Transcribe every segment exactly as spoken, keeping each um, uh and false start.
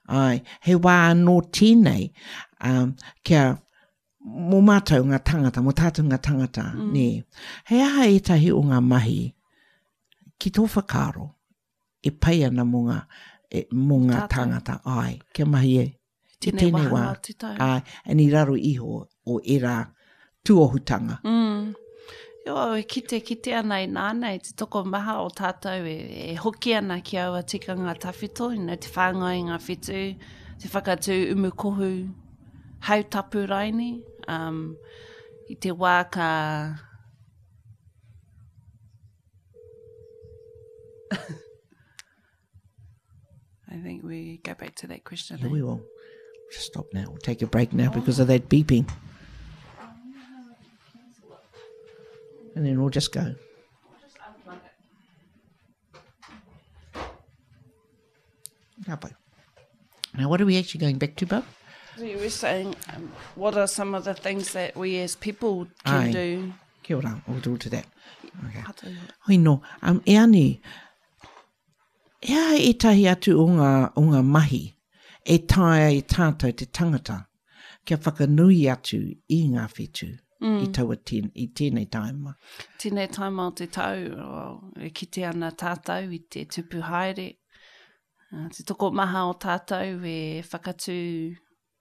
Ai, he wā anō tēnei, um, kia mō mātou ngā tangata, mō tātou ngā tangata, mm. nē. He aha ētahi o ngā mahi ki tō whakaaro e pai ana mō ngā, e, mō ngā tāngata, ai, kia mahi e, i tēnei wā, ai, and i raro iho o ērā tūohutanga. Mm. Jo, e kite kite ana i nānei, te tokomaha o tātou e, e hoki ana ki aua tikanga tawhito, you know, te whāngai i ngā whetū, te whakatū umu kohu, hautapu raini, um, i te wā ka... I think we go back to that question. Yeah, eh? we will. Just stop now. We'll take a break now because of that beeping. And then we'll just go. We'll just unplug it. Ka pai. Now, what are we actually going back to, Bub? So you were saying, um, what are some of the things that we as people can Aye. do? Kia ora, we'll do to that. Okay. Atu. Hoi no, um, e ani, e aha ētahi atu o ngā, o ngā mahi e taea e tātou te tangata kia whakanui atu i ngā whetū mm. i taua tēn, i tēnei taima. Tēnei taima o te tau, oh, e kite ana tātou i te tupu haere. Uh, te tokomaha o tātou e whakatū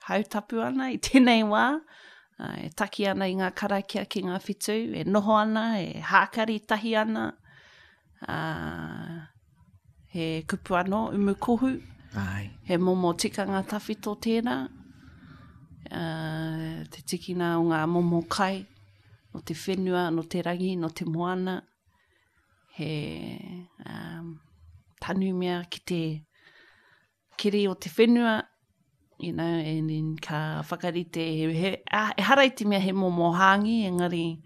hautapu ana i tēnei wā, uh, e taki ana i ngā karakia ki ngā whetū, e noho ana, e hākari tahi ana. Uh, he kupu anō, umu kohu. Ai. He momo tikanga tawhito tērā. Uh, te tikina o ngā momo kai, no te whenua, no te rangi, no te moana. He um, tanumia ki te kiri o te whenua, you know, and then ka whakarite, he, he, ah, ehara i te mea he momo hāngi, engari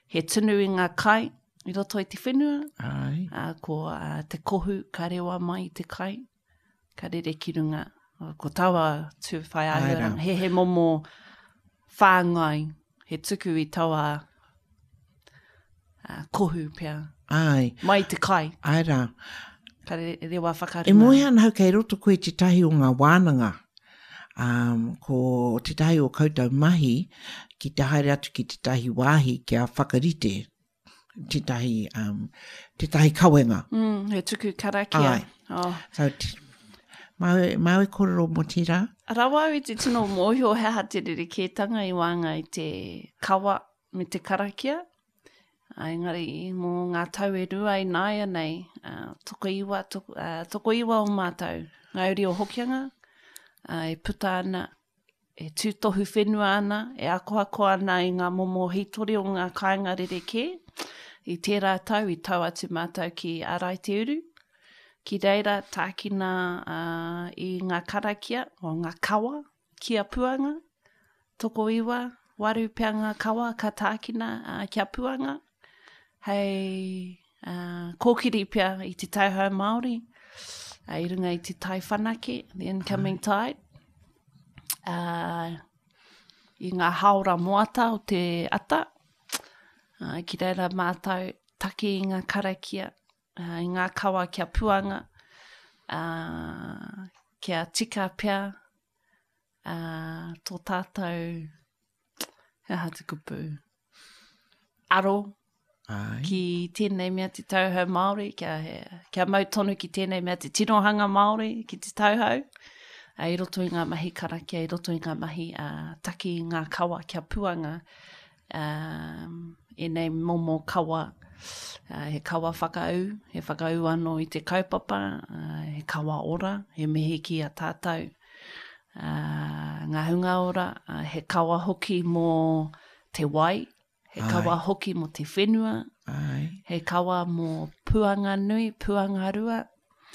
he tunu i ngā kai i roto i te whenua. Ai. Uh, ko uh, te kohu ka rewa mai i te kai, ka rere ki runga. Ko taua tū whai Ai rā. āhuaranga. He, he momo whāngai, he tuku i taua uh, kohu pea. Ai. Mai te kai. Ai rā. Ka re, rewa whakarunga. E moe ana hau kei roto koe tētahi o ngā wānanga. Um, ko tētahi o koutou mahi ki te haere atu ki tētahi wāhi kia whakarite tētahi, um, tētahi kawenga. Mm, he tuku karakia. Ai. Oh. So, t- māu, māu e kōrero mō tērā? Rawa au i te tino mōhio he aha te rerekētanga i waenga i te kawa me te karakia. Ā, engari, mō ngā tau e rua i nāianei, uh, tokoiwa, toko, uh, tokoiwa o mātou, ngā uri o Hokianga, uh, e puta ana, e tūtohu whenua ana, e akoako ana i ngā momo hītori o ngā kāinga rerekē. I tērā tau, i tau atu mātou ki Āraiteuru, ki reira tākina uh, i ngā karakia, o ngā kawa, ki a Puanga, tokoiwa, waru pea ngā kawa ka tākina uh, ki a Puanga, hei uh, kōkiri pea i te tauhou Māori, uh, i runga i te tai whanake, the incoming tide, uh, i ngā haora moata o te ata, uh, ki reira mātou taki i ngā karakia, uh, i ngā kawa kia Puanga, uh, kia tika pea uh, tō tātou, he aha te kupu, aro Ai. ki tēnei mea te tauhou Māori, kia, kia mau tonu ki tēnei mea te tirohanga Māori ki te tauhou, uh, i roto i ngā mahi karakia, i roto i ngā mahi uh, taki i ngā kawa kia Puanga, um, ēnei momo kawa, uh, he kawa whakaū, he whakaū anō i te kaupapa, uh, he kawa ora, he mihi ki a tātou, uh, ngā hunga ora, uh, he kawa hoki mō te wai, he Ai. kawa hoki mō te whenua, Ai. he kawa mō puanga nui, puanga rua.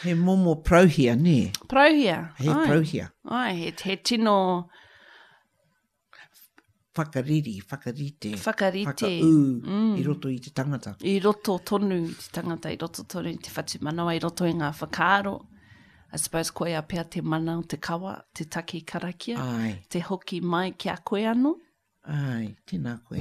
He momo parauhia, nē? Parauhia. He ai. parauhia. Ai, he, he tino Whakariri, whakarite. whakarite. Whakaū Mm. i roto i te tangata. I roto tonu i te tangata, i roto tonu i te whatumanawa, i roto i ngā whakaaro. I suppose koia pea te mana o te kawa, te taki karakia, Ai. te hoki mai ki a koe anō. Ai, tēnā koe.